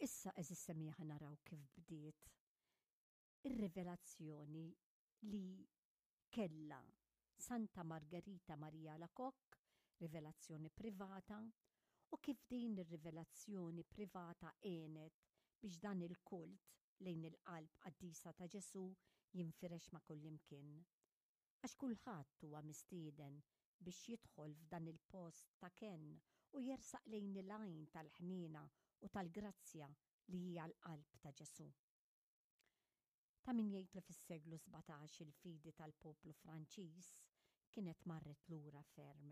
Issa għeżież semmiegħa naraw kif bdiet ir-rivelazzjoni li kellha Santa Margherita Maria Alacoque, rivelazzjoni privata, u kif din ir-rivelazzjoni privata għenet biex dan il-kult lejn il-Qalb Qaddisa ta' Ġesù jinfirex ma' kullimkien. Għax kulħadd huwa mistieden biex jidħol f'dan il-post ta' kenn u jersaq lejn il-għajn tal-ħniena u tal-grazzja li hija l-Qalb ta' Ġesù. Ta' min jgħid li fis-seklu 17 il-fidi tal-poplu Franċiż kienet marret lura ferm.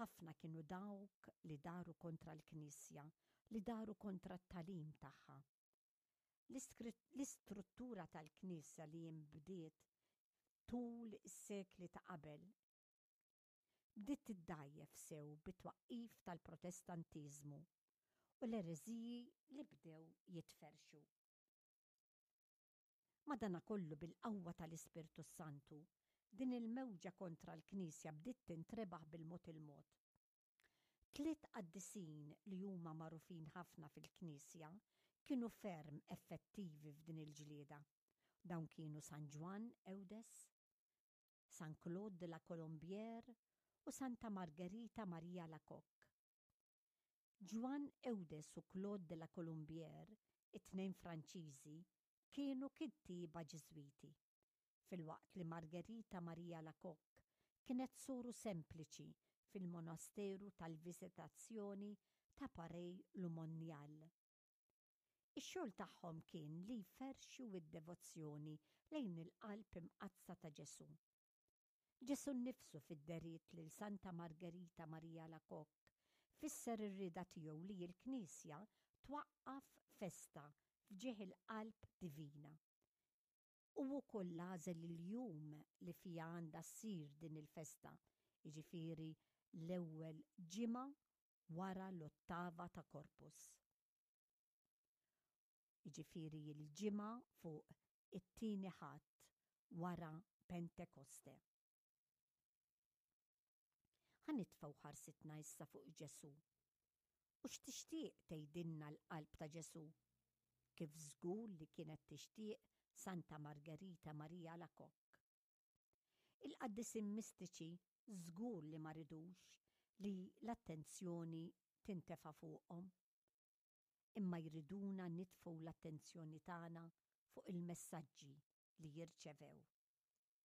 Ħafna kienu dawk li daru kontra l-Knisja, li daru kontra t-tagħlim tagħha. L-istruttura tal-Knisja li inbdiet tul is-sekli ta' qabel bdiet tiddgħajjef sew bit-twaqqif tal-Protestantiżmu u l-ereżiji li bdew jitferrxu. Madanakollu bil-qawwa tal-Ispirtu s-Santu, din il-mewġa kontra l-Knisja bdiet tintrebaħ bil-mod il-mod. Tliet qaddisin li huma magħrufin ħafna fil-Knisja kienu ferm effettivi f'din il-ġlieda. Dawn kienu San Ġwann Eudes, San Claude de la Colombière u Santa Margherita Maria Alacoque. Ġwann Eudes u Claude de la Colombière, it-tnejn Franċiżi, kienu kittieba Ġiżwiti, filwaqt li Margherita Maria Alacoque kienet soru sempliċi fil-monasteru tal-Visitazzjoni ta' Paray-le-Monial. Ix-xogħol tagħhom kien li jferrxu d-devozzjoni lejn il-Qalb Imqaddsa ta' Ġesù. Ġesù nnifsu fid-dehriet lil Santa Margherita Maria Alacoque fisser ir-rieda tiegħu li l-Knisja twaqqaf festa f'ġieħ il-Qalb Divina. Hu wkoll għażel il-jum li fiha għandha ssir din il-festa, jiġifieri l-ewwel ġimgħa wara l-ottava ta' Corpus. Jiġifieri l-ġimgħa fuq it-tieni Ħadd wara Pentekoste. Ħa nitfgħu ħarsitna issa fuq Ġesù. U x'tixtieq tgħidilna l-qalb ta' Ġesù? Kif żgur li kienet tixtieq Santa Margherita Maria Alacoque. Il-qaddisin mistiċi żgur li ma ridux li l-attenzjoni tintefa' fuqhom. Imma jriduna nitfgħu l-attenzjoni tagħna fuq il-messaġġi li jirċevew.